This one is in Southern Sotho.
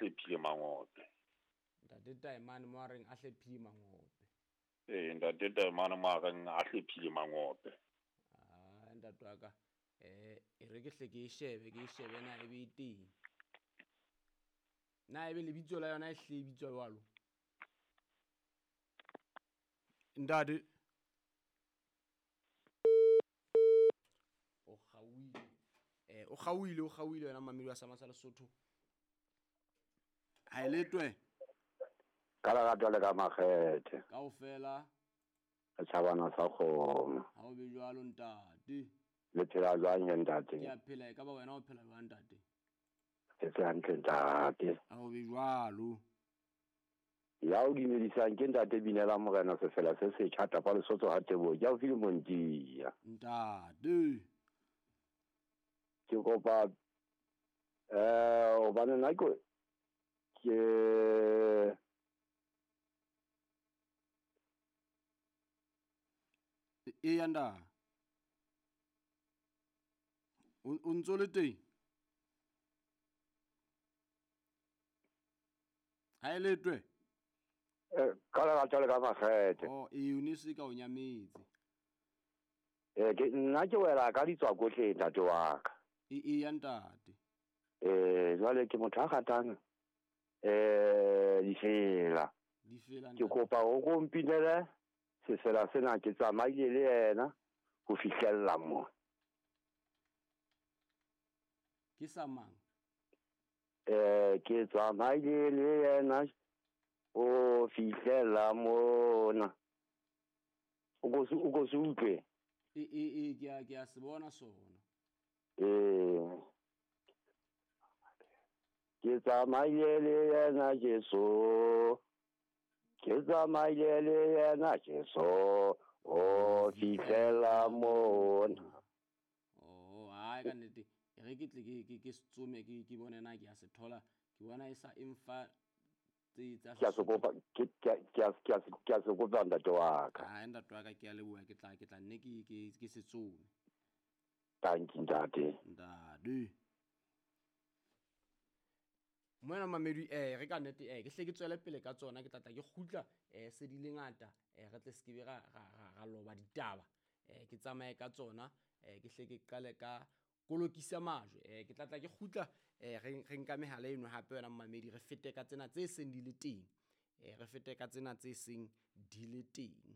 hlephile mangope. Ntate Taemane mo a reng a hlephile mangope. Ee, ntate Taemane mo a reng a hlephile mangope. Ah, ntate wa ka e re ke hle ke e shebe, ke e shebe na ebe e teng. Na ebe lebitso la yona e hle e bitswa jwalo? Ntate o kgaohile, o kgaohile, o kgaohile wena mamedi wa Sama sa Lesotho. Ha e letwe. Ka lerato le ka makgethe. Kaofela. Re tjhabana sa kgomo. Ha o be jwalo ntate. Le phela jwang he ntate? Ke a phela, e ka ba wena o phela jwang ntate? Ke tse hantle ntate. Ha o be jwalo. Ya o dumedisang ke ntate Binela Morena Sefela se setjha tapa Lesotho ha Teboho. Ke haufi le Montia. Ntate. Ke kopa hobane nna ke Eya nda. O ntso le teng? Ha e letwe? Ka lerato le ka makgethe. Oh, ee, o ne se ka o nyametse. Ke nna ke wela ka ditswakohle ntate wa ka. Eya ntate. Jwale ke motho a ratang difela. Difela Ke kopa o ko mpinele sefela sena, ke tsamaile le yena ho fihlella mo. Ke sa mang? Ke tsamaile le yena o fihlella mona. O ko se utlwe? E, ke a se bona sona. Ke tsamaile le yena Jesu. Ke tsamaile le yena Jesu. O fihlela mona. Oh, hai ka nnete. E re ke tle ke se tsome, ke bone na ke a se thola. Ke bona e sa emfa tse tsa Ke a se kopa, ke a se kopa ntate wa ka. Hai ntate wa ka, ke a leboha, ke tla nne ke se tsome. Thank you ntate. Ntate. Moena mamedi, re ka nnete, ke hle ke tswele pele ka tsona, ke tla tla ke kgutla, se di le ngata, re tle se ke be ra loba ditaba. Ke tsamaye ka tsona, ke hle ke qale ka kolokisa majwe. Ke tla tla ke kgutla, re nka mehala eno hape wena mamedi, re fete ka tsena tse seng di le teng. Re fete ka tsena tse seng di le teng.